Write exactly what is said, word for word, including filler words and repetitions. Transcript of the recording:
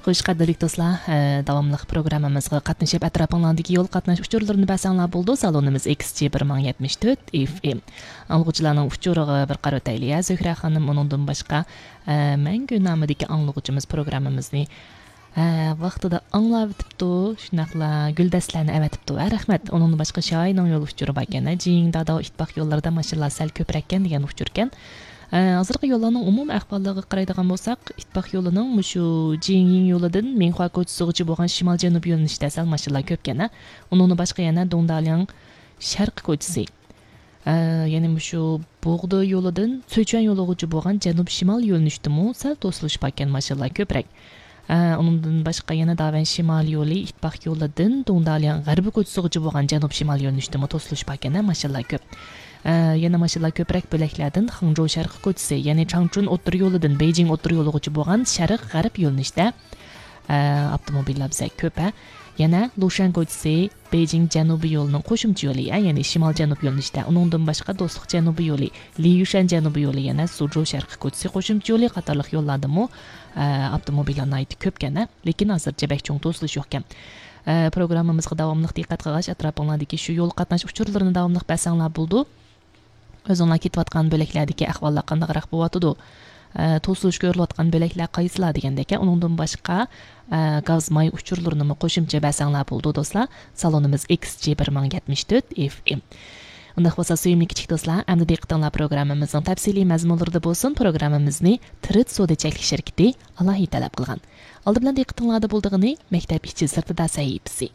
خوش، قەدىرلىك دوستلار، ئە، داۋاملىق پروگراممىمىزغا قاتنىشىپ، ئەتراپىڭلاردىكى يول قاتناش ئۇچۇرلىرىنى بەرسەڭلار بولىدۇ. سالونىمىز ئېكس جى بىر مىڭ يەتمىش تۆت ئېف ئېم. ئاڭلىغۇچىلارنىڭ ئۇچۇرىغا بىر قارىۋېتەيلى، يا، زۆھرە خانىم، ئۇنىڭدىن باشقا، ئە، مەڭگۈ نامىدىكى ئاڭلىغۇچىمىز پروگراممىمىزنى، ئە، ۋاقتىدا ئاڭلاۋېتىپتۇ، شۇنداقلا گۈلدەستىلەرنى ئەۋەتىپتۇ. ھە، رەھمەت. ئۇنىڭدىن باشقا شايىنىڭ يول ئۇچۇرى باركەن، ھە، جىڭ داداۋ ئىتتىپاق يوللىرىدا ماشىنىلار سەل كۆپرەككەن دېگەن ئۇچۇركەن. ئە، ھازىرقى يوللارنىڭ ئومۇمىي ئەھۋاللىرىغا قارايدىغان بولساق، ئىتتىپاق يولىنىڭ مۇشۇ جىڭيىڭ يولىدىن مىڭخۇا كوچىسىغىچە بولغان شىمال جەنۇب يۆنىلىشىدە سەل ماشىنىلار كۆپكەن، ھە. ئۇنىڭدىن باشقا يەنە دۇڭدالياڭ شەرقىي كوچىسى، ئە، يەنى مۇشۇ بوغدا يولىدىن سۈچۈەن يولىغىچە بولغان جەنۇب شىمال يۆنىلىشتىمۇ سەل توسۇلۇش باركەن، ماشىنىلار كۆپرەك. ئە، ئۇنىڭدىن باشقا يەنە داۋەن شىمال يولى، ئىتتىپاق يولىدىن دۇڭدالياڭ غەربىي كوچىسىغىچە بولغان جەنۇب شىمال يۆنىلىشتىمۇ توسۇلۇش باركەن، ھە، ماشىنىلار كۆپ. ئە، يەنە ماشىنىلار كۆپرەك بۆلەكلەردىن خېڭجوۋ شەرقىي كوچىسى، يەنى چاڭچۈن ئوتتۇرا يولىدىن بېيجىڭ ئوتتۇرا يولىغىچە بولغان شەرق غەرب يۆنىلىشتە، ئە، ئاپتوموبىللار بىزە كۆپ، ھە. يەنە لۇشەن كوچىسى، بېيجىڭ جەنۇبىي يولىنىڭ قوشۇمچە يولى، ھە، يەنى شىمال جەنۇب يۆنىلىشتە. ئۇنىڭدىن باشقا دوستلۇق جەنۇبىي يولى، لىيۈشەن جەنۇبىي يولى، يەنە سۇجۇ شەرقىي كوچىسى قوشۇمچە يولى قاتارلىق يوللاردىمۇ، ئە، ئاپتوموبىللار ناھايىتى كۆپكەن، ھە. لېكىن ھازىرچە بەك چوڭ توسۇلۇش يوقكەن. ئە، پروگراممىمىزغا داۋاملىق دىققەت قىلغاچ، ئەتراپىڭلاردىكى شۇ يول قاتناش ئۇچۇرلىرىنى داۋاملىق بەرسەڭلار بولىدۇ. ئۆزۈڭلار كېتىۋاتقان بۆلەكلەردىكى ئەھۋاللار قانداقراق بولۇۋاتىدۇ؟ ئە، توسۇلۇش كۆرۈلۈۋاتقان بۆلەكلەر قايسىلار دېگەندەك، ئۇنىڭدىن باشقا، ئە، گاز ماي ئۇچۇرلىرىنىمۇ قوشۇمچە بەرسەڭلار بولىدۇ، دوستلار. سالونىمىز ئېكس جى بىر مىڭ يەتمىش تۆت ئېف ئېم. ئۇنداق بولسا، سۆيۈملۈك كىچىك دوستلار، ئەمدى دىققىتىڭلار پروگراممىمىزنىڭ تەپسىلىي مەزمۇنلىرىدا بولسۇن. پروگراممىمىزنى تىرىت سودا چەكلىك شىركىتى ئالاھىدە تەلەپ قىلغان. ئالدى بىلەن دىققىتىڭلاردا بولىدىغىنى مەكتەپ ئىچى سىرتىدا سەھىپىسى.